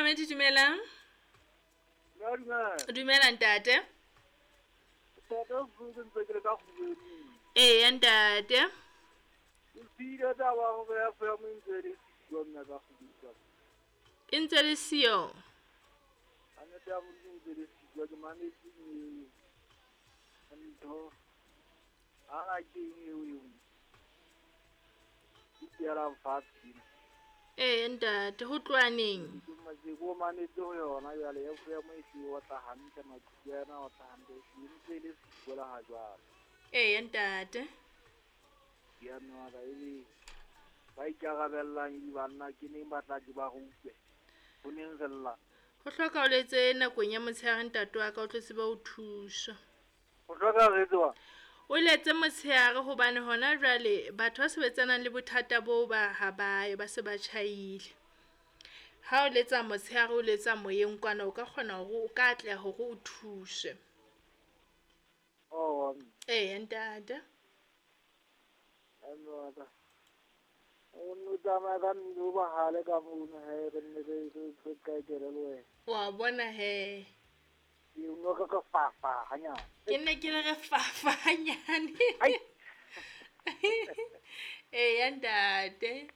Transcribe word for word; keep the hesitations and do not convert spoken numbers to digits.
Momamedi, dumelang. Dumela. Dumela ntate. Ntate o ntse ke le ka kgubeng. Eya ntate. O siile taba hore ya F M e ntse le siyo mme ka kgubeng. E ntse le siyo. Kannete ya Modimo e ntse le siyo, ke mametse ntho. Ha ke eng eo eo. Ke tielang fatshe. Ee ntate, ho tloha neng? Ke ko mametse ho yona jwale F M e hlile o tla hantle, maqhubu a yona o tla hantle, e ntse e le siyo le ha jwale. Ee ntate. Ya mme wa ka, ebe ba ikarabellang e banna ke neng ba tla ke ba re utlwe. Ho neng re lla. Ho hloka o letse nakong ya motshehare ntate wa ka o tlo tsebe ho thuswa. Ho hloka re etse wa? O letse motshehare hobane hona jwale batho ba sebetsanang le bothata boo ba ha ba ba se ba tjhaile. Ha o letsa motshehare o letsa moyeng kwana o ka kgona hore o ka atleha hore o thuswe. Oh. Ee ntate. Mme wa ka. O no tsamaya ka mmino o bahale ka mono he re nne re re qetele le wena. Wa bona he. Ke no re re fafa hanyane. Ke nne ke le re fafa hanyane. Eya ntate.